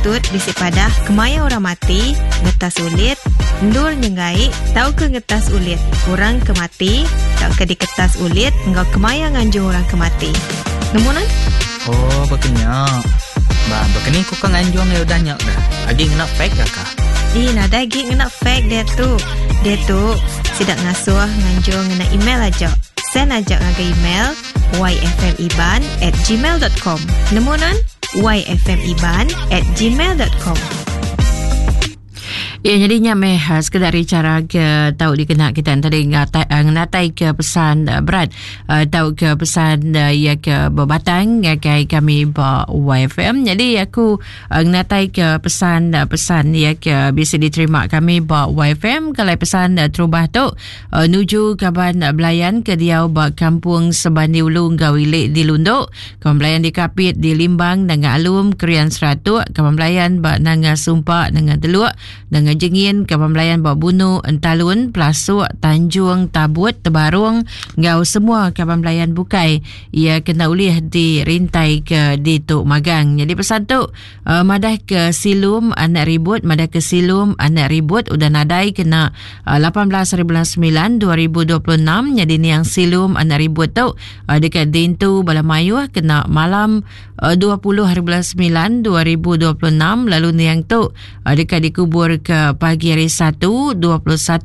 Tut bisi padah kemaya orang mati, ngetas ulit, endur nyenggai tauka ngetas ulit orang ke mati tauka diketas ulit enggau kemaya nganjung orang ke mati. Nemu nuan? Oh, baka nya. Ba, baka ni ku ka nganjung iya udah nya dah. Agi ngena fax ga ka? Ih, nadai agi ngena fax diatu. Diatu, sida ngasuh nganjung ngena email aja. Send aja ngagai email yfmiban at gmail dot com. Nemu nuan? yfmiban at gmail dot com. Ya, jadi nya meh eh, sekedar cara ke tau dikena kita tadi ngatai, eh, ngenatai ke pesan eh, berat tau ke pesan ya ke berbatang ngagai kami ba YFM. Jadi aku ngenatai ke pesan pesan ya ke bisa diterima kami ba YFM kalau pesan terubah tu Nuju kaban belayan ke diau ba Kampung Sebandi Ulu enggau Ili di Lundu, kaban belayan di Kapit di Limbang Nanga Alum Krian Seratuk, kaban belayan ba Nanga Sumpa Nanga Teluk, Nanga Jengin, kaban belayan ba Bunu Entalun, Pelasuk, Tanjung, Tabut, Tebarung enggau semua kaban belayan bukai iya kena ulih dirintai ke ditu magang. Nyadi pesan tu Madah ke Silum anak ribut madah ke Silum anak ribut udah nadai kena 18 hari bulan 9 2026 nyadi niang Silum anak ribut tu deka diintu bala mayuh kena malam 20 hari bulan 9 2026 lalu niang tu deka dikubur ke pagi hari 1 21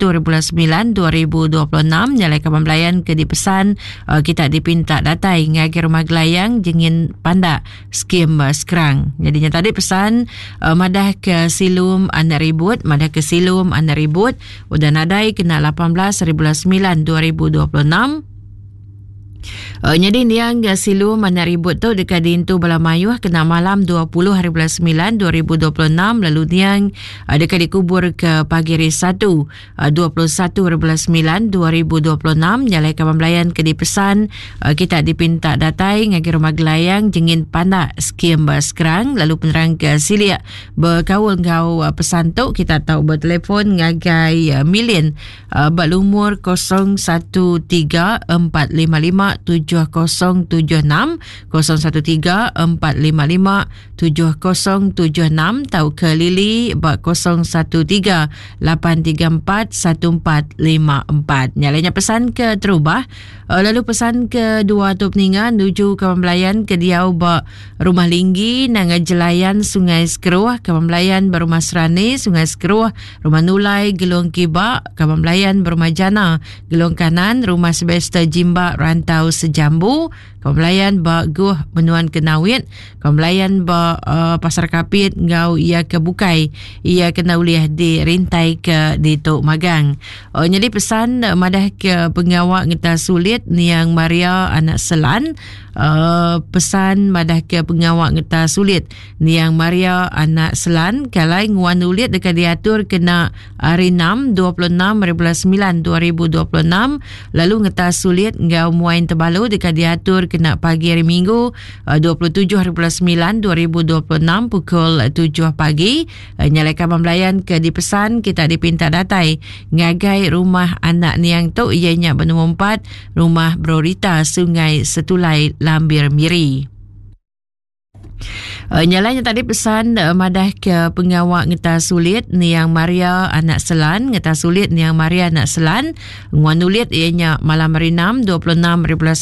hari bulan 9 2026 nyalai kaban belayan ke dipesan kita dipinta datai ngagai rumah gelayang jengin pandak Skim Skrang. Jadi nya tadi pesan uh, madah ke Silum anak ribut, madah ke Silum anak ribut udah nadai kena 18 hari bulan 9 2026. Nyadi niang Silum anak ribut tu deka diintu bala mayuh kena malam 20 hari bulan 9 2026 lalu niang deka dikubur ke pagi hari 1 21 hari bulan 9 2026 nyalai kaban belayan ke dipesan kita dipinta datai ngagai rumah gelayang jengin pandak skim Skrang lalu penerang ke silik bekaul enggau pesan tu kita tau bertelefon ngagai Milin ba lumur 013 455 7076 013 455 7076 tauka Lily ba 013 834 1454. Nya lainnya pesan ke terubah eh, lalu pesan ke dua tu peninga nuju kawan belayan ke diau ba Rumah Linggi Nanga Jelayan Sungai Sekeruh, kawan belayan ba Rumah Serani Sungai Sekeruh, Rumah Nulai Gelong Kiba, kawan belayan ba Rumah Jana Gelong Kanan, Rumah Sylvester Jimba Rantau Sejambu, Kaum belayan ba Guh Menuan Kenawit, kaum belayan ba uh, Pasar Kapit enggau iya ke bukai iya kena ulih dirintai ke ditu magang. Uh, nyadi pesan uh, madah ke pengawa ngeta sulit niang Maria anak Selan uh, pesan madah ke pengawa ngeta sulit niang Maria anak Selan kalai nguan ulit deka diatur kena Hari 6, 26 hari bulan 9 2026 lalu ngetas sulit enggau muain tebalu deka diatur kena pagi hari Minggu 27 eh, hari bulan 9 2026 pukul 7 pagi. Eh, nyalai kaban belayan ke dipesan kita dipinta datai ngagai rumah anak niang tu iya nya benumur 4 Rumah Brorita Sungai Setulai Lambir Miri. Uh, nyalanya tadi pesan uh, madah ke pengawa ngeta sulit niang Maria anak Selan ngeta sulit niang Maria anak Selan nguan ulit ianya malam hari 6 26 hari bulan 9.